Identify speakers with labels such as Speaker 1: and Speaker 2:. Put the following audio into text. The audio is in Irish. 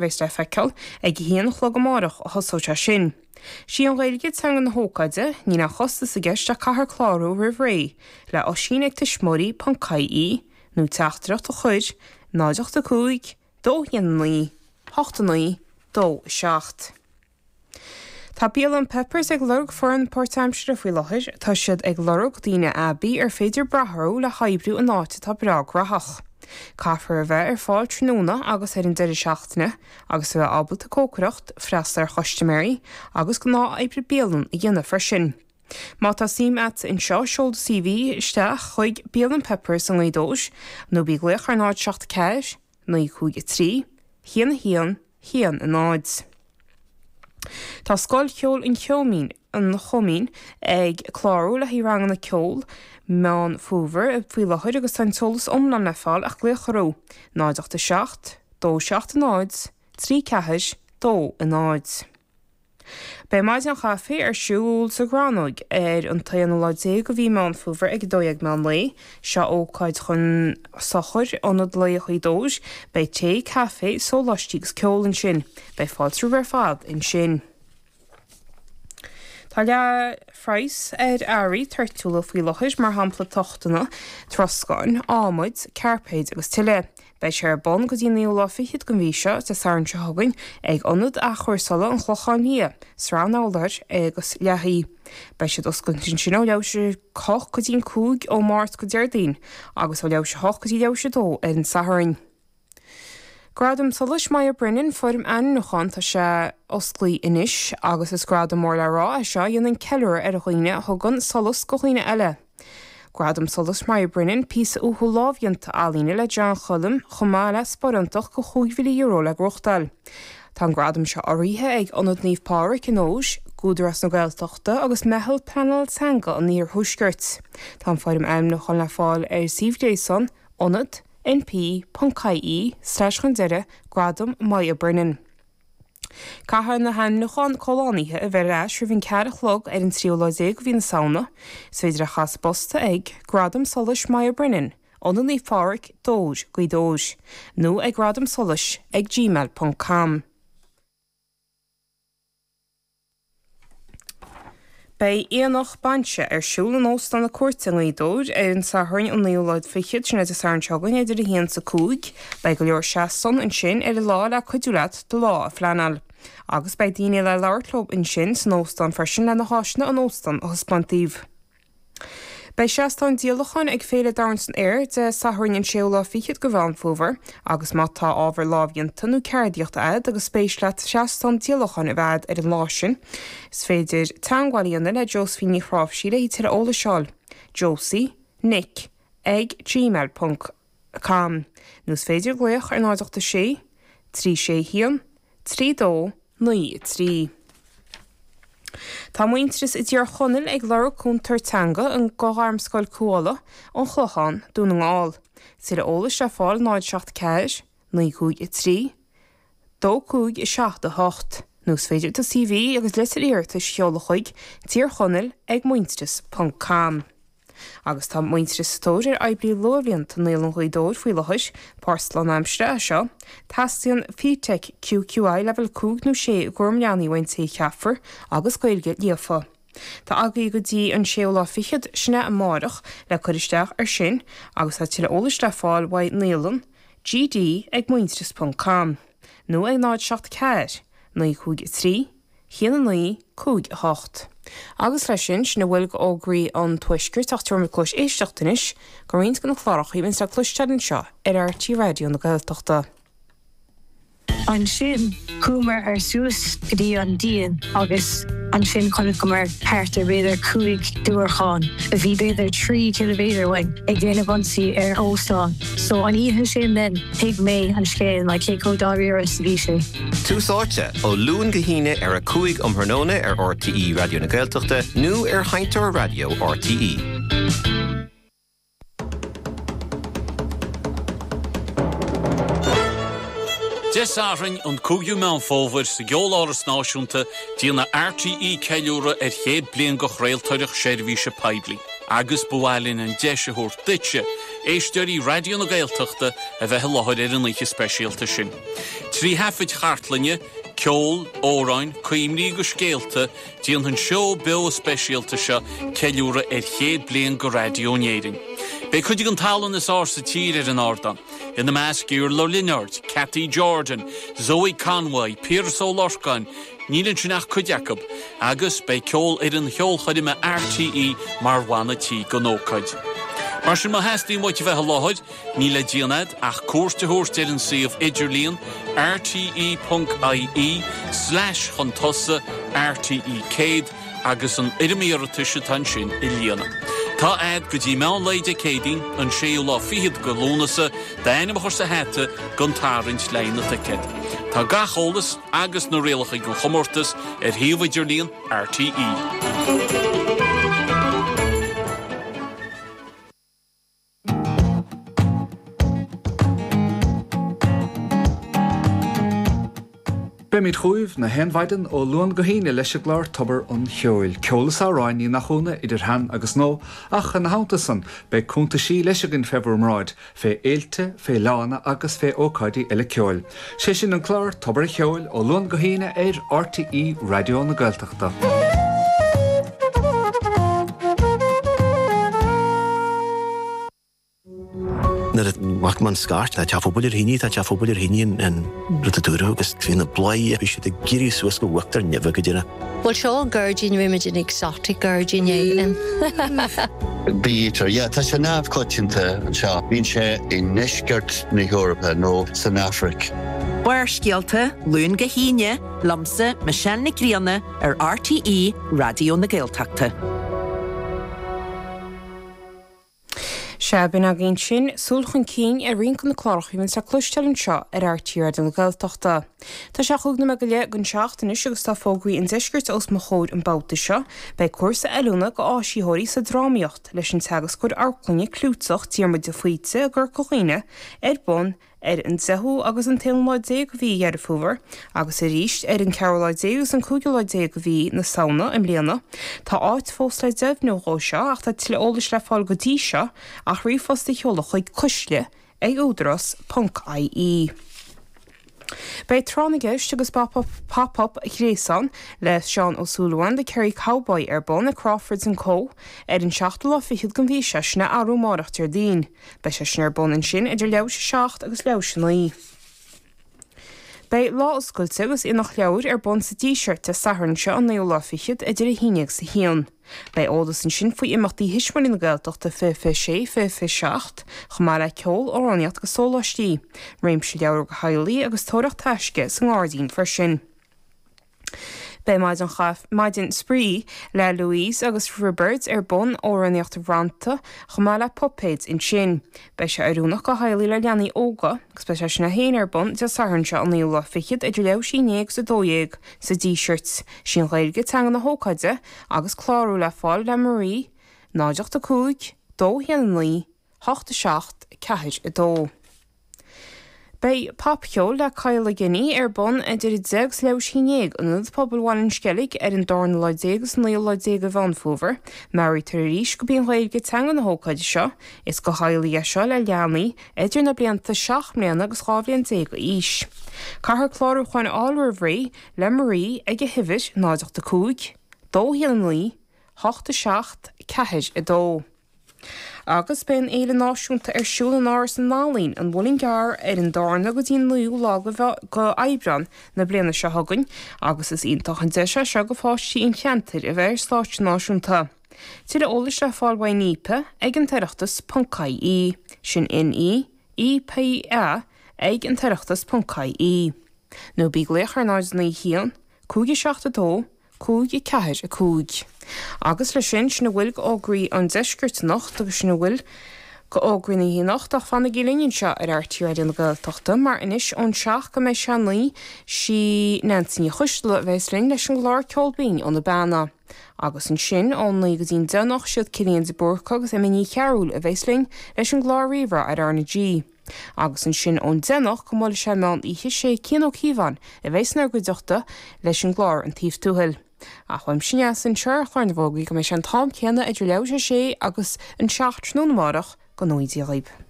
Speaker 1: Bheas le feiceáil ag a haon a chlog amárach a thosóidh sé sin. Sí an Ghaeilge teanga na hócáide, níl aon chostas i gceist ach caithfear clárú roimh ré le oisín ag tuismitheoirí ponc ie nó teachtaireacht a chur 0 8 5 2 1 9 8 9 2 7. Tá Bialann Pepper's ag lorg foireann páirtaimseartha faoi láthair. Tá siad ag lorg daoine aibí ar féidir brath orthu le hoibriú in áit atá breá graitheach. Caithfear a bheith ar fáil tráthnóna agus ar an deireadh seachtaine agus a bheith ábalta cócaireacht, freastal ar chustaiméirí agus gnáth-oibre bialann a dhéanamh freisin. Má tá suim a't anseo, seol do CV isteach chuig Bialann Pepper's i nGaoth Dobhair nó bí ag glaoch ar 0 7 4 9 5 3 1 1 1 0. Tá Scoil Cheoil an Choimín, an Choimín ag clárú le haghaidh ranganna ceoil Meán Fómhair faoi láthair agus tá an t-eolas iomlán le fáil ach glaoch orthu, 0 8 7 2 7 0 3 4 2 0. Beidh Maidin Chaife ar siúl sa Ghrannóg ar an t-aonú lá déag de mhí Meán Fómhair ag 12 meán lae. Seo ócáid chun sochair Ionad Lae Ghaoth Dobhair. Beidh tae, caife, sóláistí agus ceol ansin. Beidh fáilte romhaibh ar fad ansin. Tá leath phraghas ar earraí toirtiúla faoi láthair, mar shampla tochtanna, troscáin, adhmaid, cairpéid agus tuilleadh. Beidh sé ar bun go dtí an naoú lá fichead den mhí seo, Dé Sathairn seo chugainn, ag Ionad Athchúrsála an Chlocháin Liath, Srath an Fhoghlair agus Lathaí. Beidh siad oscailte ansin ó leathuair tar éis a 8 go dtí an 5 ó Máirt go Déardaoin agus ó leathuair tar éis a 8 go dtí leathuair tar éis a 2 ar an Satharn. Gradam Solais Moya Brennan, foirm ainmniúcháin, tá sé osclaí anois agus is gradam mór le rá é seo a dhéanann ceiliúradh ar dhaoine a thugann solas go dhaoine eile. Gradam Solais Moya Brennan, píosa uathúil lámhdhéanta ealaíne le John Choilm chomh maith le sparántach de €5,000 le gnóthachtáil. Tá an gradam seo urraithe ag Ionad Naomh Pádraig i nDobhar, Údarás na Gaeltachta agus Meitheal Pleanála Teanga an Iarthuaiscirt. Tá an foirm ainmniúcháin le fáil ar suíomh gréasáin Ionad NP ponc ie slash chun deireadh Gradam Moya Brennan. Caithfidh na hainmniúcháin comhlánaithe a bheith ar ais roimh an ceathair a chlog ar an tríú lá déag de mhí na Samhna. Is féidir é a chur sa bpost ag, Gradam Solais Moya Brennan, Ionad Naomh Pádraig, Dobhar, Gaoth Dobhair, nó ag Gradam Solais ag gmail ponc com. Beidh Aonach Bainse ar siúl in Óstán na Cúirte i nGaoth Dobhair ar an Satharn an naoú lá fichead, sin é Dé Sathairn seo chugainn, idir 1 is 5. Beidh go leor seastán ansin ar an lá le cuidiú leat do lá a phleanáil. Agus beidh daoine le labhairt leo ansin san óstán freisin le na háiseanna an óstán a thaispeáint daoibh. Beidh seastán díolacháin ag Féile Domhain san Aer Dé Sathairn an séú lá fichead de Mheán Fómhair agus má tá ábhar lámhdhéanta nó ceardaíochta agat agus spéis leat seastán díolacháin a bheith agat ar an lá sin, is féidir teagmháil a dhéanamh le Josephine Ní Chráimhsí le tuilleadh eolais a fháil, josie nic ag gmail ponc com nó is féidir glaoch ar 0 8 6 3 6 1 3 2 9 3. Tá Muintearas i dTír Chonaill ag lorg cúntóir teanga do Ghairmscoil Cuala, An Clochán, Dún na nGall. Tuilleadh eolais le fáil 0 7 4 9 5 3 2 5 7 8 nó is féidir do CV agus litir iarratais a sheoladh chuig Tír Chonaill ag muintearas ponc com. Agus tá Muintearas sa tóir ar oibrí luathbhlianta Naíolann Ghaoth Dobhair faoi láthair, post lánaimseartha é seo. Teastaíonn FETAC QQI leibhéal 5 nó 6 i gcúram leanaí ón té a cheapfar agus Gaeilge líofa. Tá agaibh go dtí an séú lá fichead, sin é amárach, le cur isteach air sin agus tá tuilleadh eolais le fáil uaidh naíolann gd ag muintearas ponc com nó ag 0 7 4 9 5 3 1 9 5 8. Agus leis sin, sin a bhfuil d'fhógraí an Tuaiscirt ach tabharfaimid cluas éisteachta anois go roinnt de na cláracha a bhíonns le cloisteáil anseo ar RTÉ Raidió na Gaeltachta.
Speaker 2: Ansin chuamar ar suas go dtí an díon agus ansin chonaiceamar thart ar b'fhéidir 5 diúracán a bhí b'fhéidir 3 ciliméadar uainn ag déanamh ionsaí ar óstán. So an oíche sin then thuig mé an scéal like cé chomh dáiríre is a bhí sé.
Speaker 3: Tús Áite, ó Luan go hAoine ar 5 um thráthnóna ar RTÉ Raidió na Gaeltachta nó ar Sheinnteoir Raidió RTÉ.
Speaker 4: Dé Sathairn, an 5ú Meán Fómhair, sa gCeoláras Náisiúnta, déanfaidh RTÉ ceiliúradh ar chéad bliain de chraoltóireacht seirbhíse poiblí. Agus ba mhaith linn an deis a thabhairt duitse. éisteoirí Raidió na Gaeltachta, a bheith i láthair ar an oíche speisialta sin. 3 thaifid chartlainne, ceol, amhráin, cuimhní agus scéalta, déanfaidh an seó beo speisialta seo ceiliúradh ar chéad bliain de raidió in Éirinn. Beidh cuid den tallann is fhearr sa tír ar an ardán, ina measc Iarla Ó Lionáird, Cathy Jordan, Zoe Conway, Piaras Ó Lorcáin, níl ansin ach cuid acu, agus beidh ceol fhoireann cheolchoirme RTÉ mar bhanna tí don ócáid. Mar sin má theastaíonn uait a bheith i láthair, níl le déanamh agat ach cuairt a thabhairt ar an suíomh idirlíon rte.ie slash chun tosaigh RTE 100 agus an fhoirm iarratais atá ansin a líonadh. Tá a'd go dtí meán lae Dé Céadaoin, an séú lá fichead de Lúnasa, d'ainm a chur sa hata don tarraingt le haghaidh na dticéad. Tá gach eolas agus na rialacha don chomórtas ar shuíomh idirlíon RTÉ.
Speaker 5: Beimid chugaibh na haon mhaidin ó Luan go hAoine leis an gclár Tobar an Cheoil. Ceol is amhráin, ní nach ionadh, idir shean agus nua, ach ina theannta san, beidh cuntaisí leis againn fé bhur mbráid, fé fhéilte, fé fhleánna agus fé ócáidí eile ceoil. Sé sin an clár Tobar an Cheoil ó Luan go hAoine ar RTÉ Raidió na Gaeltachta.
Speaker 6: Nuair a bhfaca mé an scairt, tá teach phobail ar thine, tá teach phobail ar thine an rud a dúradh agus bhí na bláthaí, bhí siad ag éirí suas go uachtar neimhe go deireadh.
Speaker 7: Bhuel seo an gairdín, rinne muid an exotic gairdín é.
Speaker 8: Bee-eater, yeah, tá sé neamhchoitianta anseo. Bíonn sé i ndeisceart na hEorpa nó san Afraic.
Speaker 9: Barrscéalta, Luan go hAoine, liomsa, Michelle Nic Grianna, ar RTÉ Raidió na Gaeltachta.
Speaker 1: Sea, b'in againn sin, súil chun cinn ar roinnt de na cláracha a bhíonns le cloisteáil anseo ar RTÉ Raidió na Gaeltachta. Tá sé chúig nóiméad go leith don seacht anois agus tá fógraí an deiscirt os mo chomhair an babhta seo. Beidh cúrsa oiliúna do áisitheoirí sa drámaíocht leis an teagascóir amharclainne clúiteach Diarmuid de Faoite i gCorca Dhuibhne ar bun ar an deichiú agus an t-aonú lá déag de mhí Dheireadh Fómhair agus arís ar an ceathrú lá déag agus an cúigiú lá déag de mhí na Samhna i mbliana. Tá áit fós le deimhniú dhó seo ach tá tuilleadh eolais le fáil go dtí seo ach ríomhphost a sheoladh chuig cuisle ag údarás ponc ie. Beidh Tráth na gCeist agus Pop Up Ghréasán le Seán Ó Súilleabháin, The Kerry Cowboy ar bun ag Crawfords and Co ar an seachtú lá fichead den mhí seo, sin é arú amárach Déardaoin. Beidh sé sin ar bun ansin idir leathuair théis a 7 agus leathuair théis a 9. Beidh Lá Oscailte agus Aonach Leabhar ar bun sa Díseart Dé Sathairn seo an naoú lá fichead idir 1 agus 1. Beidh eolas ansin faoi imeachtaí Thuismitheoirí na Gaeltachta 2026, 2027, chomh maith le ceol, amhránaíocht agus sóláistí. Réimse leabhar do theaghlaigh agus tóraíocht taisce sa ngairdín freisin. Beidh maidin chaife, maidin spraoi le Louise agus Roibeard ar bun, amhránaíocht rannta, chomh maith le puipéid ansin. Beidh sé oiriúnach do theaghlaigh le leanaí óga, agus beidh sé sin é féin ar bun Dé Sathairn seo an naoú lá fichead idir leathuair théis a 11 agus 12 sa Díseart. Sí an Ghaeilge teanga na hócáide agus clárú le fáil le Marie, 0 8 5 2 1 9 8 7 4 2. Beidh Popcheol le Kyle Guinea ar bun idir 10 agus leathuair théis a 11 in Ionad Pobail Bhaile an Sceilg ar an darna lá déag agus an naoú lá déag de Mheán Fómhair. Meabhraítear arís gurb í an Ghaeilge teanga na hócáide seo. Is do theaghlaigh é seo le leanaí idir na blianta 7 mbliana agus 12 bhliain d'aois. Caithfear clárúcháin a fháil roimh ré le Marie ag a huimhir 0 8 5 2 1 9 8 7 4 2. Agus beidh an Fhéile Náisiúnta ar siúl in Áras na nEalaíon, An Muileann gCearr, ar an darna go dtí an naoú lá de Aibreán na bliana seo chugainn agus is iontach an deis é seo do pháistí an cheantair a bheith ar stáitse náisiúnta. Tuilleadh eolais le fáil uaidh Neepa ag an tOireachtas ponc ie, sin N-E-E-P-A ag an tOireachtas ponc ie. Nó bí ag glaoch ar 0 9 1 5 7 2 5, 4, 5. Agus leis sin, sin a bhfuil d'fhógraí an deiscirt anocht agus sin a bhfuil d'fhógraí na hoíche anocht ach fanaigí linn anseo ar RTÉ Raidió na Gaeltachta mar anois ón seacht go mbeidh sé a naoi sí Neansaí Ní Choisdealbha a bheas linn leis an gclár Ceol Binn ó na Beanna. Agus ansin ón naoi go dtí an deich anocht siad Cillian de Búrca agus Emma Ní Chearúil a bheas linn leis an gclár Ríomhrá ar R na G. Agus ansin ón deich anocht go mbuailfidh sé meán oíche sé Cian Ó Cíobháin a bheas inár gcuideachta leis an gclár An Taobh Tuathail. Ach uaimse Neasa anseo ar chlár na bhfógraí go mbeidh sé an t-am céanna idir leathuair théis a sé agus an seacht tráthnóna amárach. Go ngnóthaí Dia dhaoib.